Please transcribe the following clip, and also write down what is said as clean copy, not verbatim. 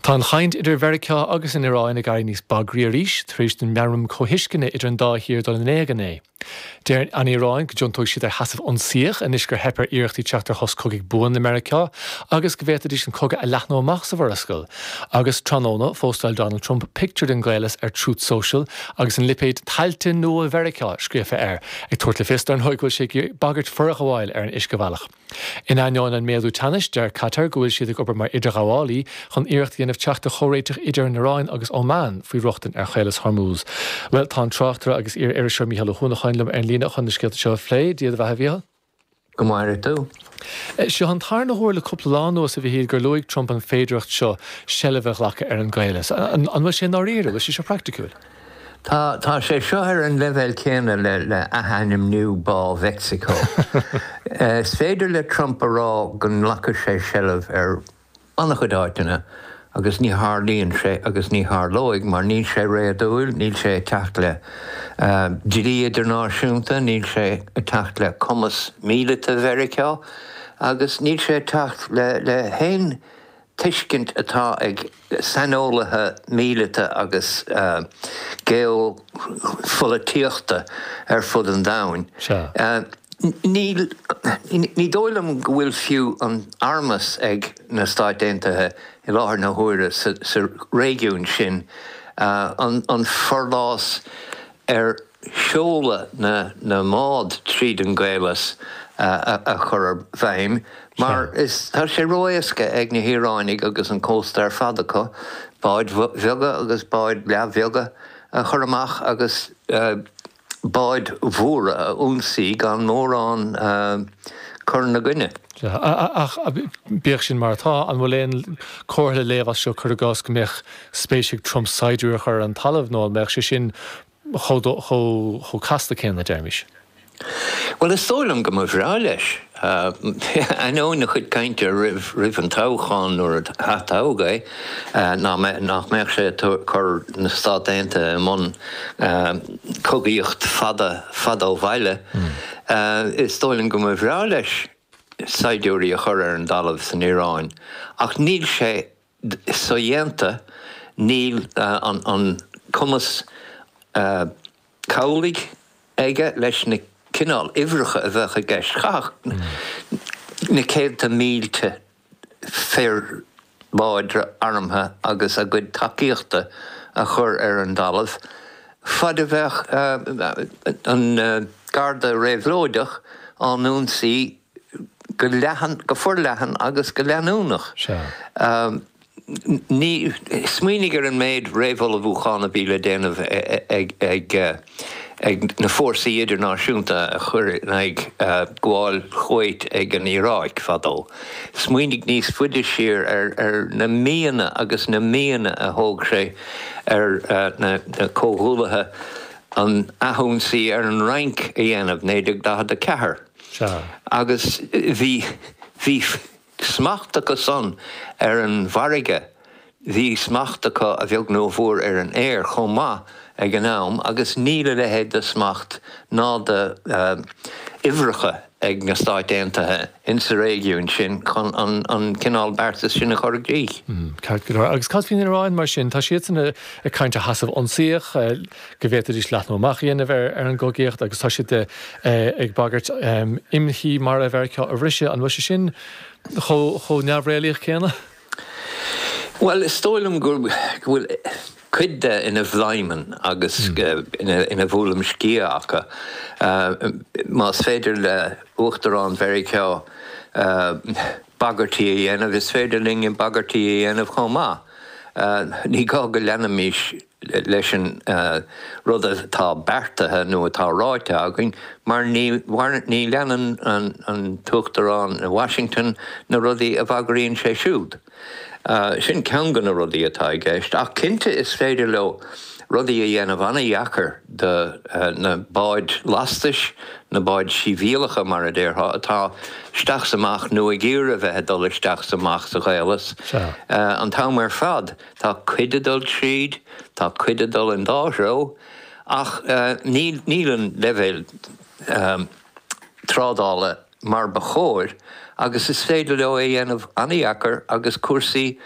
Tá an chaint idir Mheiriceá agus an Iaráin ag éirí níos bagraí arís tar éis don meamram comhthuisceana idir an dá thír dul in éag inné. Deir an Iaráin go dtiontóidh siad ar sheasamh ionsaíoch anois gur theip ar iarrachtaí teacht ar shos cogaidh buan le Meiriceá agus go bhféadfaidís an cogadh a leathnú amach sa Mhurascaill. Agus tráthnóna, phóstáil Donald Trump pictiúr den gcaolas ar Truth Social agus an lipéad 'Tailte Nua Mheiriceá' scríofa air, ag tabhairt le fios, dar ndóigh, go bhfuil sé ag bagairt forghabháil ar an uiscebhealach. In ainneoin an méadú teannais, deir Catar go bhfuil siad ag obair mar idirghabhálaí chun iarracht a dhéanamh teacht ar chomhréiteach idir an Iaráin agus Oman faoi rochtain ar Chaolas Hormuz. Bhuel, tá an tráchtaire agus iar-iriseoir Mícheál Ó hUanacháin liom ar an líne chun na scéalta seo a phlé. Dia do bheatha, a Mhícheáil. Go maire tú. Seo an tarna huair le cúpla lá anuas, a Mhichíl, gur luaigh Trump an féidearthacht seo seilbh a ghlacadh ar an gcaolas. An bhfuil sé i ndáiríre? Bhfuil sé seo praiticiúil? Tá, tá sé seo ar an leibhéal céanna le, le athainmniú Bá Mheicsiceo. Is féidir le Trump a rá go nglacfaidh sé seilbh ar an-chuid áiteanna agus ní tharlaíonn sé agus ní tharlóidh mar níl sé réadúil, níl sé ag teacht le dlí idirnáisiúnta, níl sé ag teacht le cumas míleata Mheiriceá agus níl sé ag teacht le, le haon tuiscint atá ag saineolaithe míleata agus geopholaitíochta ar fud an domhain. Níl, ní dóigh liom go bhfuil fiú an armas ag na Stáit Aontaithe i láthair na huaire sa réigiún sin an forlás ar sheoladh na mbád tríd an gcaolas a chur i bhfeidhm mar is tá sé ró-éasca ag na hIaránaigh agus an cósta ar fad acu báid bheaga agus báid leathbheaga a chur amach agus báid mhóra a ionsaí gan mórán cur ina gcoinne. Ach bíodh sin mar atá, an bhfuil aon chomhartha le léamh as seo, cuir i gcás, go mbeadh spéis ag Trump saighdiúirí a chur ar an talamh nó an mbeadh sé sin chomh casta céanna, deirimis? Bhuel, is dóigh liom go mba bhreá leis. Ainneoin a chuid cainte roimh an toghchán nuair a atoghadh é, nach mbeadh sé ag cur na Stát Aontaithe i mbun cogaíocht fada fada ó bhaile, is dóigh liom go mba bhreá leis saighdiúirí a chur ar an dtalamh san Iaráin. Ach níl sé sodhéanta, níl an cumas cabhlaigh aige leis na cineál uimhreacha a bheadh i gceist. Chaithfeadh na céadta mílte fir láidre armtha agus a gcuid tacaíochta a chur ar an dtalamh fad a bheadh an Garda Réabhlóideach á n-ionsaí go leathan, go forleathan agus go leanúnach. Ní, smaoinigh ar an méid réamhullmhúchán a bhí le déanamh ag ag na fórsaí idirnáisiúnta a chuir in aghaidh gabháil Chuwait ag an Iaráic fadó. Smaoinigh níos faide siar ar ar na míonna agus na míonna a thóg sé ar na comhghuallaithe an athionsaí ar an Fhrainc a dhéanamh, 1944. Sea. Agus bhí, bhí smacht acu san ar an bhfarraige, bhí smacht acu a bheag nó a mhór ar an aer chomh maith ag an am agus níl a leithéid de smacht ná de uimhreacha ag na Stáit Aontaithe insa réigiún sin chun an cineál beartais sin a chur i gcrích. Ceart go leor. Agus cad faoin Iaráin mar sin? Tá siadsan ag caint ar sheasamh ionsaíoch. go bhféadfaidís leathnú amach a dhéanamh ar an gcogaíocht agus tá siad ag bagairt imshuí mara Mheiriceá a bhriseadh. An bhfuil sé sin chomh neamhréalaíoch céanna? Bhuel, is dóigh liom go bhfuil cuid de ina bhladhmann agus ina bhuaileam sciath acu. Más féidir le Uachtarán Mheiriceá bagairtí a dhéanamh, is féidir linne bagairtí a dhéanamh chomh maith. Ní gá go leanfaimis leis an rud atá beartaithe nó atá ráite againn, mar ní ní leanann an tUachtarán i Washington na rudaí a bhagraíonn sé siúd. Sin ceann de na rudaí atá i gceist. Ach cinnte is féidir leo rudaí a dhéanamh an-dheacair do na báid lastais, na báid shibhialacha mar a déarfá, atá isteach 's amach nó ag iarraidh a bheith ag dul isteach 's amach sa Chaolas an t-am ar fad. Tá cuid ag dul tríd, tá cuid ag dul an dá threo, ach níl, níl an leibhéal trádála mar ba chóir agus is féidir leo é a dhéanamh an-dheacair agus cúrsaí.